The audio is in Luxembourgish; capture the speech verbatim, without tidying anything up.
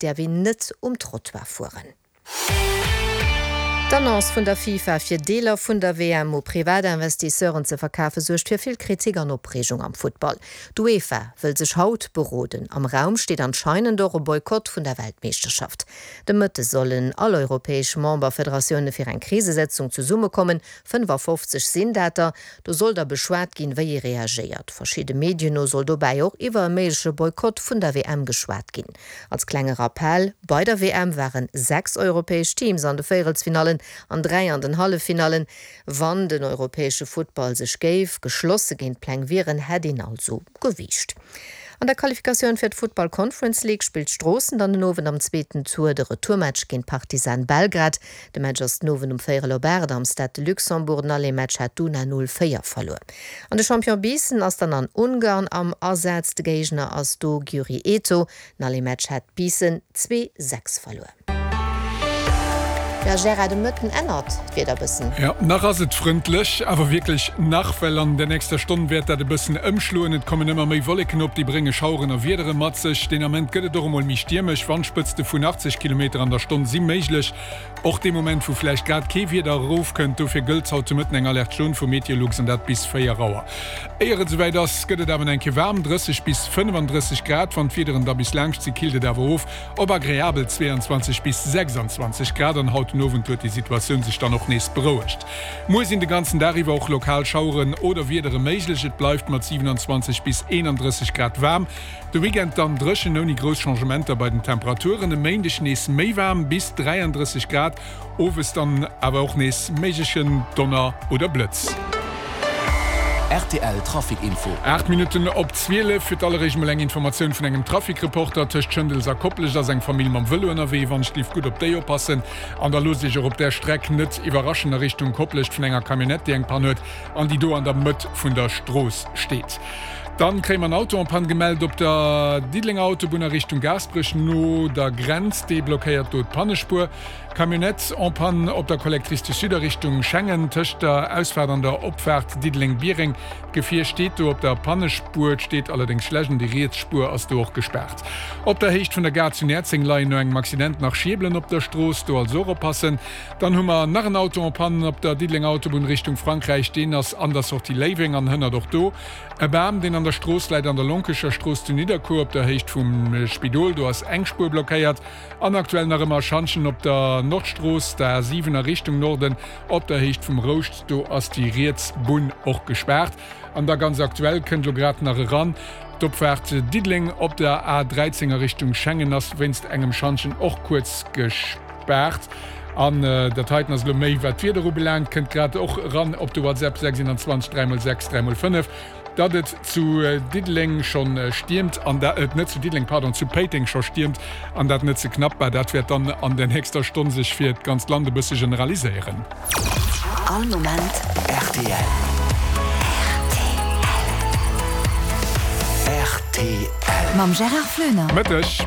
däerf een net um Trottoir fueren. D'Annonce vun der FIFA, fir Deeler vun der W M u Privatinvestisseuren ze verkafe suergt fir vill Kritik an Opreegung am Futtball. D'UEFA wëll sech haut beroden. Am Raum steet anscheinend och e Boykott vun der Weltmeeschterschaft. De Mëtte sollen all europäesch Memberfederatioune fir eng Krisesëtzung zesummekommen, fënnefafofzeg sinn dat der. Do soll da beschwat ginn, wéi ee reagéiert. Verschidde Medien no soll dobäi och iwwer e méigleche Boykott vun der W M geschwat ginn. Als klenge Rappell, Bei der W M waren sechs europäesch Teams an de Véierelsfinallen an dräi an den Halleffinallen. Wann den europäesche Futtball sech géif geschlosse géint d'Pläng wieren, hätt een also gewiicht. An der Qualifikatioun fir d'Futtball Conference League spillt Stroossen dann den Owend am zweeten Tour de Retourmatch géint Partizan Belgrad. De Match ass den Owend um véierel op aacht am Stade de Luxembourg. Den Aller-Match hat d'Una null véier verluer. An de Champion Biissen ass dann an Ungarn am Asaz. De Géigner ass do Győri Eto. Den Aller-Match hat Biissen zwee, sechs verluer. Jo Gérard, de Mëtten ännert d'Wieder bëssen. Jo, nach ass et frëndlech, awer wierklech nach, well an der nächster Stonn wäert dat e bëssen ëmschloen. Et kommen ëmmer méi Wolleken op, déi brénge Schaueren a Wiedere mat sech. Deen Ament gëtt et och emol méi stiermesch, Wandspëtzte vun achtzeg Kilometer an der Stonn si méiglech, och dee Moment wou vläicht grad kee Wieder erofkënnt. Dofir gëllt haut de Mëtten eng Alerte jaune vu Meteolux an dat bis véier Auer. Éier et esouwäit ass, gëtt et awer eng Kéier waarm, drësseg bis fënnefandrësseg Grad. Wann d'Wiederen da bis laanscht si, killt et awer of op agreabel zweeanzwanzeg bis sechsanzwanzeg Grad an haut den Owend huet déi Situatioun sech dann och nees berouegt. Muer sinn de ganzen Dag iwwer och lokal Schaueren oder Wiedere méiglech, et bleift mat siewenundzwanzeg bis eenandrësseg Grad waarm. De Weekend dann dréchen ouni grouss Changementer bei den Temperaturen. E Méindeg nees méi waarm, bis dräiandrësseg Grad, owes dann awer och nees méiglechen Donner oder Blëtz. Rtl Trafic Info. Aacht Minutten op zwielef. Fir d'alleréischt mol eng Informatioun vun engem Trafic-Reporter, Tëscht Schëndels a Koplescht ass eng Famill mam Vëlo ënnerwee. Wann ech lift gutt op déi oppassen. An da loosst Iech och op där Streck net iwwerraschen a Richtung Koplescht vun enger Camionnette, déi eng Pann huet an déi do an der Mëtt vun der Strooss steet. Dann kréie mer en Auto en panne gemellt op der Diddelenger Autobunn a Richtung Gaasperech no der Grenz. Dee blockéiert do d'Pannespuer. Camionnette en panne op der Collectrice du Sud a Richtung Schengen tëscht der Ausfaart an der Opfaart Diddeleng-Biereng. D'Gefier steet do op der Pannespuer. Et steet allerdéngs schlecht an déi riets Spuer ass do och gespaart. Op der Héicht vun der Gare zu Näerzeng leien no engem Accident nach Schierbelen op der Strooss. Do also och oppassen. Dann hu mer nach en Auto en panne op der Diddelenger Autobunn Richtung Frankräich. Deen ass an der Sortie Léiweng an hënnert och do e Bam, deen an der Strooss läit an der Lonkecher Strooss zu Nidderkuer op der Héicht vum Spidol. Do ass eng Spuer blockéiert. An aktuell nach ëmmer Schantjen op der Nordstrooss, der A siwen a Richtung Norden op der Héicht vum Rouscht. Do ass déi riets Bunn och gespaart. An da ganz aktuell, kënnt elo grad nach eran, D'Opfaart Diddeleng op der A dräizéng a Richtung Schengen ass wéinst engem Schantjen och kuerz gespaart. An dat heiten ass elo méi wat d'Wieder ubelaangt, kënnt grad och eran op de WhatsApp sechs eenanzwanzeg dräi mol sechs dräi mol fënnef, datt et zu Diddeleng schonn stiermt an dat, net zu Diddeleng, pardon, zu Péiteng scho stiermt an dat net ze knapp. Bah, dat wäert dann an der nächster Stonn sech fir d'ganzt Land e bësse generaliséieren. All Moment rtl. Rtl. Mam Gérard Flöner. Mëtteg.